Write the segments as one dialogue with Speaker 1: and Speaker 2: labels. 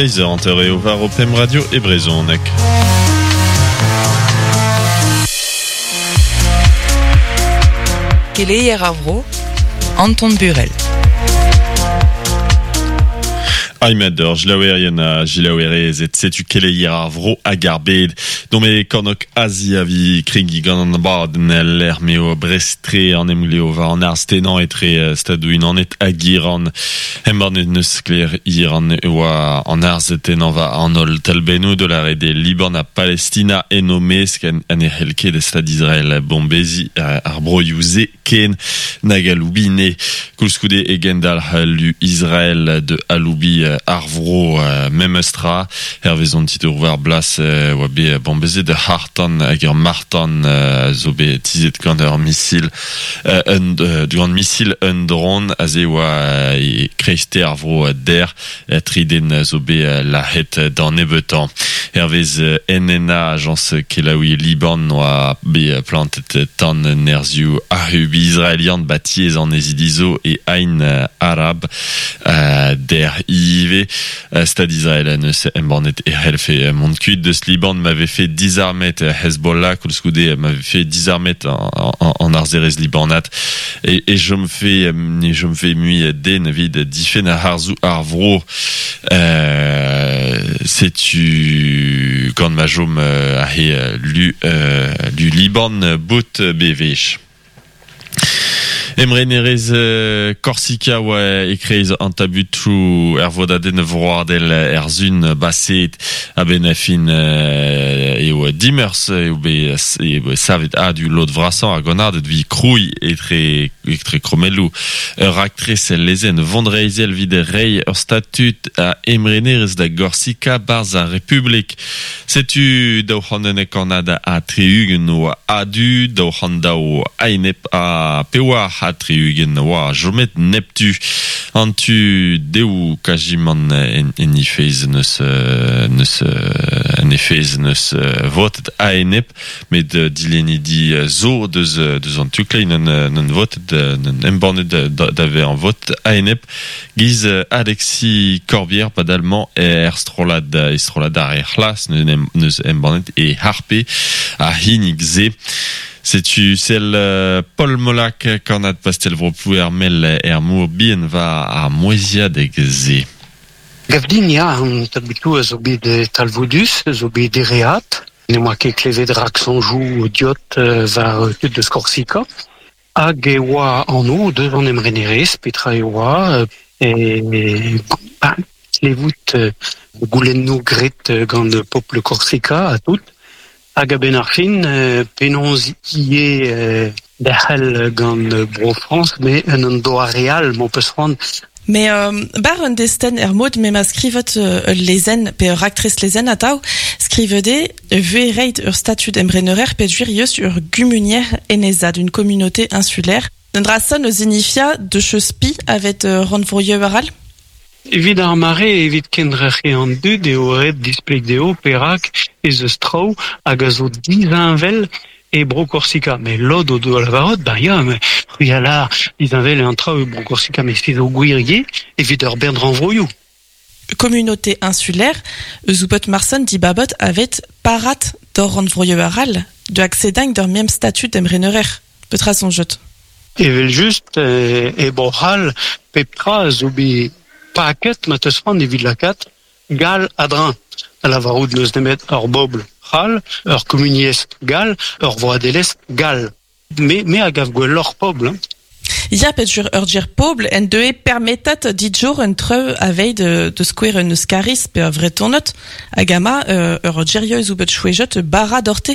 Speaker 1: Seiz eur hanter eo war ho pemp radio e brezhoneg.
Speaker 2: Keleier ar vro, Anton Burel.
Speaker 1: Aimet ur jilaouerien ha jilaouerezed, setu keleier ar vro hag ar bed. Dont e kornôg Azia vi kregiñ gant an abadenn el lec'h m'eo Brest-tre an emglev war an arz-tennañ etre Stadoù-Unanet hag Iran. Embannet n'eus sklaer Iran e oa an arz-tennañ war an holl talbennoù da lâret eo Liban ha Palestina en o mesk ha ne c'hell ket Stad Israel bombeziñ ar broioù-se ken nag aloubiñ ne. Koulskoude e gendalc'h lu Israel da aloubiñ ar vro memes tra. Hervez an titour war blas e oa bet bombezet ur c'harr-tan hag ur marc'h-tan zo bet tizhet gant ur misil un gant misil un dron. Aze e oa e kreisteiz ar vro dec'h. Tri den zo bet lazhet d'an nebeutañ. Hervez NNA, ajañs kelaouiñ Liban, oa bet plantet tan nerzhioù ac'hub israelian 'ba tiez annezidi zo e Ain Arab dec'h ivez. Stad Israel en deus embannet e c'hellfe mont kuit deus Liban ma vefe dizarmet Hezbollah, koulskoude ma vefe dizarmet an arzerezh libanat e chomfe ne chomfe mui den evit difenn harzoù ar vro. Setu gant ma chom aze lu, lu Liban bout bewech. Emrenerezh Korsika oa e-kreiz an tabutoù er vodadenn vroadel er Sun baseet. A-benn ar fin eo dimeurzh eo bet savet a-du lod vrasañ ar gannaded evit krouiñ etre etre krommelloù ur raktres lezenn vonreizhel evit reiñ ur statud a emrenerezh da Gorsika 'barzh ar Republik. Setu 211 kannad ha 60 oa a-du, 202 a-enep ha 64 oa chomet neptu. An tu dehoù kazimant en he fezh n'eus n'eus en he fezh n'eus votet a-enep, met dilennidi zo deus deus an tu kleiz n'ont votet n'ont embannet da vezañ votet a-enep. Giz Alexis Corbière padal 'mañ er strollad e strollad ar re c'hlas neus embannet e harpe ar c'hinnig-se. Setu sell Paul Molac, kannad pastell-vro Plouermel er Mor Bihan war ar mouezhiadeg-se.
Speaker 3: Gav din ya, an tabutoù a zo bet talvoudus, a zo bet dereat. Ne oa ket klevet raksoñjoù diot war tud eus Korsika. Hag e oa anv deus an emrenerezh, petra e oa, e klevout goulennoù graet gant pobl Korsika ha tout. Hag a-benn ar fin, penaos ivez derc'hel gant Bro-Frañs, met en un doare all, m'ho peus c'hoant.
Speaker 4: Mais bar un destenn er mod m'ema skrivet ul lezenn pe ur raktres lezenn atav, skrivet eo e vez reit ur statud emrenerer peogwir eus ur gumunier enezad, une communauté insulaire. Un dra sonn o zinifia de cheus-pi avet rannvroioù arall?
Speaker 3: Evit ar mare, evit kendrec'hiñ an dud eo ret displeg dezho perak ez eus traoù hag a zo disheñvel e Bro-Korsika. Met lod o doa lavaret, ben ya, mais c'hwi a lâr disheñvel eo an traoù e Bro-Korsika, met se zo gwir ivez evit ur bern rannvroioù.
Speaker 4: Communauté insulaire eus oubot Marson dibabot avet parat d'hor rannvroioù arall de accédagn d'ur même statut d'emrenerer. Petra soñjot?
Speaker 3: Evel-just, e Bro-C'hall, pep tra a zo bet paket ma teus c'hoant evit lakaat gall a-dreñv, da lavarout n'eus nemet ur bobl c'hall, ur kumuniezh gall, ur vroadelezh gall. Me, me a gav gwelloc'h pobl. Hein.
Speaker 4: Ya, petur ur ger pobl en deue permetat dit-jour un treu aveit de skouer un euskariz pe ur vretonot hag ama ur gerieus ou bet chouejot bara dorte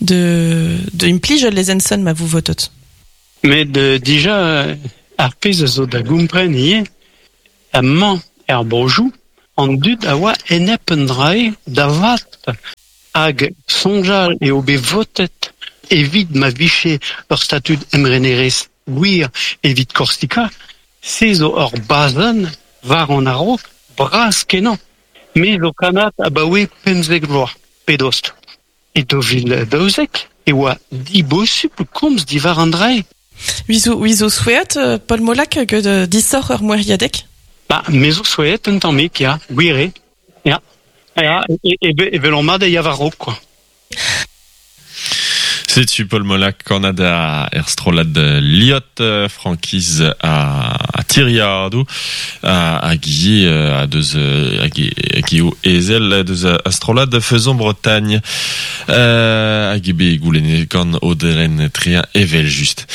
Speaker 4: de, de implij ul lezenn ma vous votot.
Speaker 3: Met dija ar pezh a zo da gompren ivez, amañ er brozhioù, an dud a oa enep un dra-se da vat. Hag soñjal eo bet votet evit ma vije ur statud emrenerezh gwir evit Korsika, se zo ur bazenn war an a-raok bras-kenañ. Me zo kannad abaoe 15 vloaz pe dost. E 2012 e oa dibosupl komz diwar an dra-se.
Speaker 4: Wizo souezhet, Paul Molac, get disoc'h ur moeriadeg?
Speaker 3: Ba, me zo souezhet un tammig, ya, gwir eo. Ya. Ya, e, e, e, e ya war quoi.
Speaker 1: Setu Paul Molac kannad er strollad Liot frankiz a Tiriadou hag ivez a deus hag eo ezel deus a strollad Faisons Bretagne hag eo bet goulennet gant Audren Trien evel just.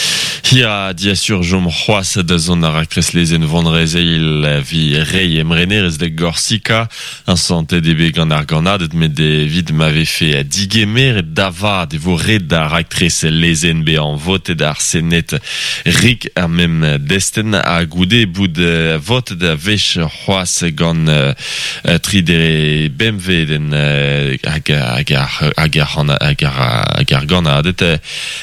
Speaker 1: Hir diasur jom c'hoaz da zont ar raktres lezenn vonrezeil vi rei emrenerez da Gorsika an santet eo bet gant ar gannaded met evit ma vefe digemeret da vat e vo ret da raktres lezenn bezañ votet ar Sened rik ar mem destenn ha goude bout votet a wech c'hoazh gant tri dere bemvedenn hag hag hag hag hag ar gannaded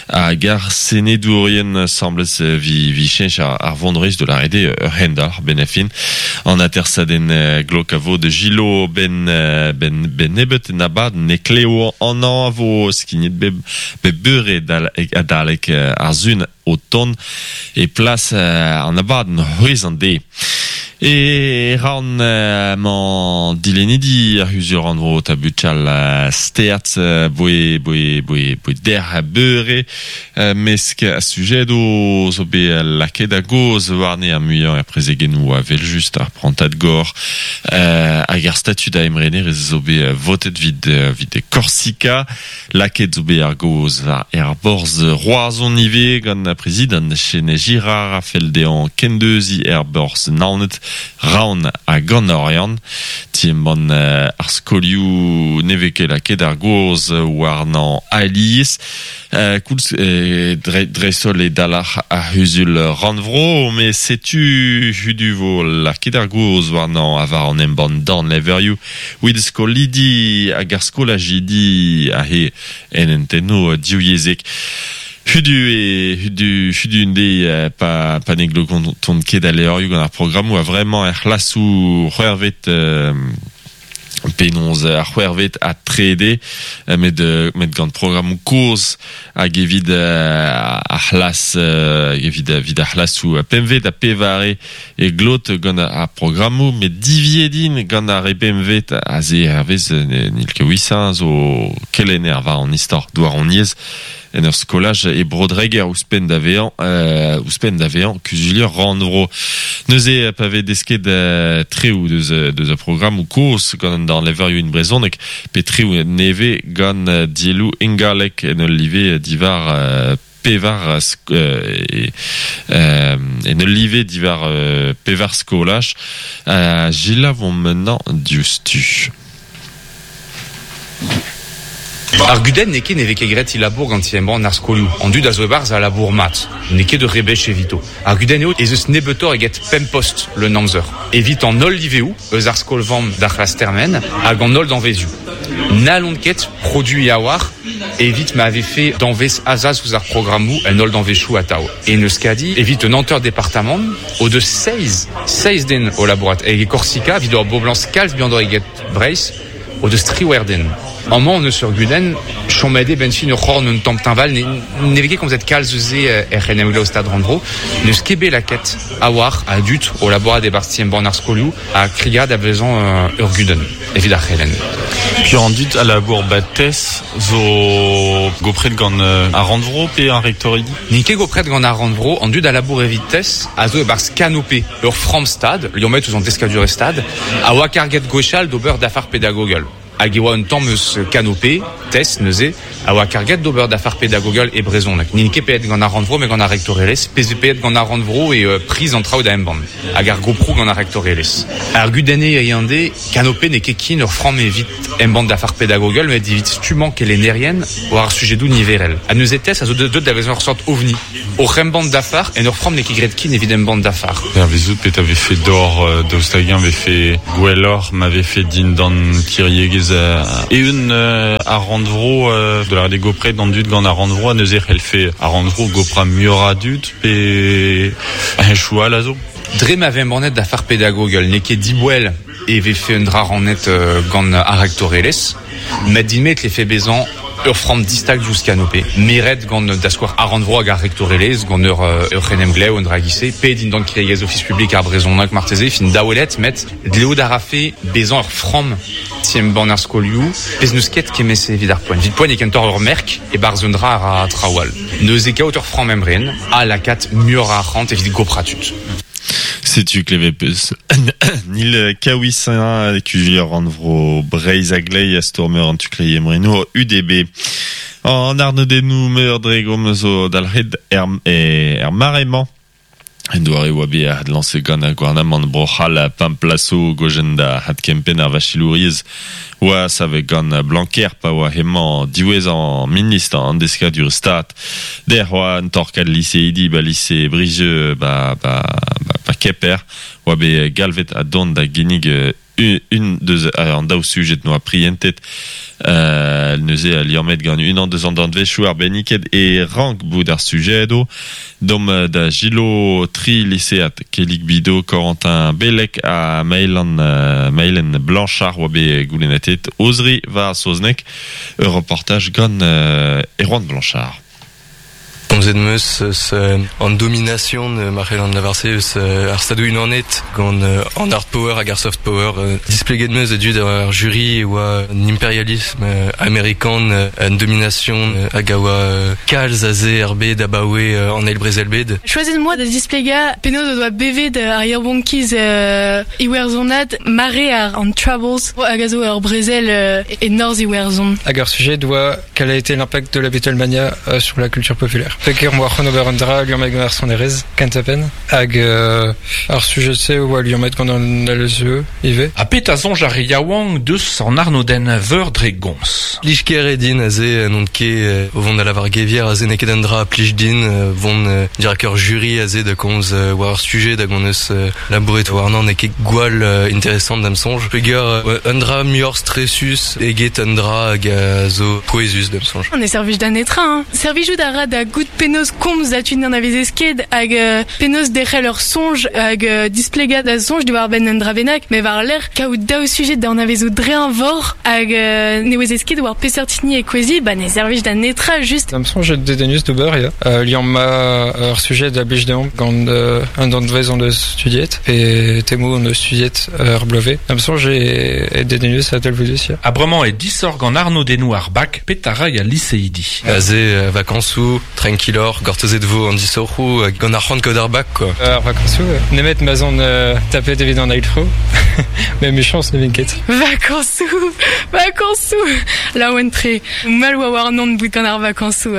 Speaker 1: hag ar senedourien semblez vi vi cheñch ar vonreizh de la rede ur hendalc'h ben a fin an atersadenn glok a vo de Gilo ben ben ben nebet en abad ne kleo an an a vo skignet bep bep beure adalek ar zun o ton e plas an abad c'hwez an de. E ran mañ dilennidi ar c'huzul rannvro tabutal steat boe boe boe boe der beure mesk a sujet o zo bet lakaet a goz warne ar muiañ er prezegennoù a vel just ar prantad gor hag ar statud a emrener ez zo bet votet vid vid Korsika lakaet zo bet ar goz war er borz Roazhon ivez gant ar prezidant Chene Girard a fell dezhañ kendeuziñ er borz Naoned Raon hag an Oriant ti-embann ar skolioù ne vez ket lakaet ar goz warnañ alies koulz dreist-holl e dalc'h ar c'huzul rannvro met setu hudu vo lakaet ar goz warnañ ha war an embann dornlevrioù evit skolidi hag ar skolajidi aze en hentennoù divyezhek. Hudu e hudu hudu un deiz pa pa ne glotont ket al levrioù gant ar programmoù a vremañ er c'hlasoù c'hwec'hvet penaos ar c'hwec'hvet ha trede met met gant programmoù kozh hag evit ar c'hlas evit evit ar c'hlasoù pempvet ha pevare e glot gant ar programmoù met diviet int gant ar re bempvet aze hervez n'il ket 800 zo kelenner war an istor douaroniezh en ur skolaj e Bro-Dreger ouzhpenn da vezañ ouzhpenn da vezañ kuzulier rannvro. Neuze pa vez desket treoù deus deus ar programmoù kozh gant an dornlevrioù in brezhoneg pe treoù nevez gant dielloù ingalek en ul live diwar pevar en ul live diwar pevar skolaj Gilles vont maintenant diouzhtu.
Speaker 5: Ar gudenn n'eo ket ne vez ket graet he labour gant ti-embann ar skolioù. An dud a zo e-barzh a labour mat. N'eo ket ur rebech evito. Ar gudenn eo ez eus nebeutoc'h eget pemp post leun amzer evit an holl liveoù eus ar skol-vamm d'ar c'hlas termen hag an holl danvezioù. N'hallont ket produiñ a-walc'h evit ma vefe danvez azas ouzh ar programmoù en holl danvezioù atav. En Euskadi, evit un hanter departamant, o deus seizh, seizh den o labourat. Hag e Korsika, evit ur boblañs kalz bihanoc'h eget Breizh, o deus triwec'h den. Amañ hon eus ur gudenn, chomet eo 'benn fin ur c'horn un tamm teñval, ne, ne vez ket komzet kalz eus se er c'henemglev Stad Rannvro. N'eus ket bet lakaet a-walc'h a dud o labourat e-barzh ti-embann ar skolioù ha krigad a vezañ ur gudenn evit ar c'helenn.
Speaker 1: Piv an dud a labour 'ba TES zo gopret gant ar Rannvro pe ar rektoridi?
Speaker 5: N'int ket gopret gant ar Rannvro, an dud a labour evit TES a zo e-barzh Canopé, ur framm-stad, liammet ouzh an deskadurezh Stad, a oa karget gwechall d'ober dafar pedagogel. Hag e oa un tamm eus Canopé, TES neuze, a oa karget d'ober dafar pedagogel e brezhoneg. N'int ket paeet gant ar Rannvro met gant ar rektorelezh. Pezh zo paeet gant ar Rannvro eo priz an traoù da embann hag ar goproù gant ar rektorelezh. Ar gudenn eo hiziv, Canopé n'eo ket ken ur framm evit embann dafar pedagogel met evit stummañ kelennerien war ar sujedoù niverel. Ha neuze TES a zo deuet da vezañ ur seurt ovni. Oc'h embann dafar en ur framm n'eo ket graet ken evit embann dafar.
Speaker 1: Hervezout petra vefe d'or daoust hag-eñ vefe gwelloc'h ma vefe dindan kiriegezh eeun ar rannvro da lâret eo gopret an dud gant ar rannvro ha neuze e c'hellfe ar rannvro goprañ muioc'h a dud pe henchoù all a zo.
Speaker 5: Dre ma vez embannet dafar pedagogel n'eo ket diboell e vefe un dra rannet gant ar rektorelezh met din-me e tlefe bezañ. Ur framm distag diouzh Canopé. Meret gant da skouer ar rannvro hag ar rektorelezh, gant ur ur c'henemglev un dra gise, pe dindan kevredigezh Ofis publik ar brezhoneg marteze, fin daouelet, met dleout a rafe bezañ ur framm ti-embann ar skolioù, pezh n'eus ket kement-se evit ar poent. Evit poent eo kentoc'h ur merk e-barzh un dra a ra traoù all. Neuze kaout ur framm emren ha lakaat muioc'h a arc'hant evit goprañ tud.
Speaker 1: Setu klevet peus Nil Kaouisin, kuzulier rannvro Breizh a-gleiz ha stourmer an tu-kleiz emrenour UDB. An arnodennoù meur dre gomz zo dalc'het er, er mare-mañ. En doare oa bet adlañset gant ar gouarnamant Bro-C'hall pemp plaso gojenn da adkempenn ar vachelouriezh oa savet gant Blanquer pa oa hemañ diwezhañ ministr an deskadurezh Stad. Dec'h oa un torkad liseidi ba lise Brizeux ba, ba, ba, ba Kemper oa bet galvet ha dont da ginnig un deus an daou sujed noa prientet neuze liammet gant unan deus an danvezioù arbenniket e rank bout ar sujedoù. Domp da Gilo tri lisead Kellig Bido, Corentin Bellec ha Maëlan, Maëlen Blanchard oa bet goulennetet o zri war saozneg. Ur reportaj gant Erwan Blanchard.
Speaker 6: Komzet 'm eus eus an domination, ma c'hellan lavar-se, eus ar Stadoù-Unanet gant an hard power hag ar soft power. Displeget 'm eus da dud ar jury e oa an imperialism amerikan un domination hag a oa kalz aze er bed abaoe an Eil Brezel-bed.
Speaker 7: Choazet 'm boa da displegañ penaos o doa bevet ar yaouankiz iwerzhonat mare an Troubles hag a zo ur brezel e norzh Iwerzhon.
Speaker 8: Hag ar sujet oa quel a été l'impact de la Beatlemania sur la culture populaire. Peger oa c'hoant ober un dra liammet gant ar sonerezh, kentañ-penn, hag ar sujet-se oa liammet gant an LSE ivez.
Speaker 9: Ha petra soñj ar re yaouank deus an arnodenn veur dre gomz?
Speaker 6: Plij ker eo din aze, n'on ket o vont da lavar gevier aze n'eo ket un dra a plij din vont dirak ur jury aze da komz war ur sujet hag hon eus labouret warnañ n'eo ket gwall interesant da'm soñj peger un dra muioc'h stresus eget un dra hag a zo pouezus da'm soñj.
Speaker 7: Ne servij da netra hein. Servijout a ra da goût penaos komz da tud n'anavezez ket hag penaos derc'hel ur soñj hag displegañ da soñj diwar-benn un dra bennak met war-lerc'h kaout daou sujed da anavezout dre eñvor hag ne ouezez ket war peseurt hini e kouezhi ba ne servij da netra just.
Speaker 8: Da'm soñj eo dedennus d'ober ya. Liammañ ur sujet a blij deomp gant un danvez hon eus studiet pe temoù hon eus studiet ur bloavezh. Da'm soñj eo dedennus ha talvoudus ya.
Speaker 9: Ha bremañ eo disoc'h gant arnodennoù ar bak petra 'ray al liseidi.
Speaker 6: Aze vakañsoù, tranquilloc'h, gortozet vo an disoc'hoù gant ar c'hoant kaout ar bak quoi.
Speaker 8: Ar vakañsoù, nemet ma'z on tapet evit an eil tro, met emichañs ne vin ket.
Speaker 7: Vakañsoù, vakañsoù, laouen-tre. Mall oa warnon bout gant ar vakañsoù.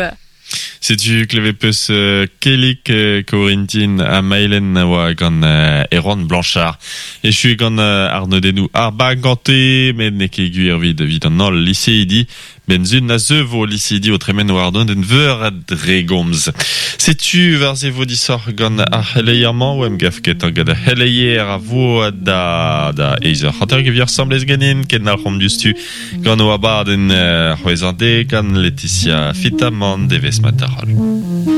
Speaker 1: Setu klevet peus Kellig Corentin ha Maëlen a oa gant Erwan Blanchard. Echu gant arnodennoù ar bag gante, met n'eo ket gwir evit evit an holl liseidi. Benzun a zeu vo liseidi o tremen war arnodenn veur a dre gomz. Setu war se vo disoc'h gant ar c'heleier-mañ o em gav ketañ gant ar c'heleier a vo da da eizh eur hanter e vi asambles ganin kendalc'homp diouzhtu Gant o abadenn c'hwezhañ dek gant Laetitia Fitamant devezh mat da roll.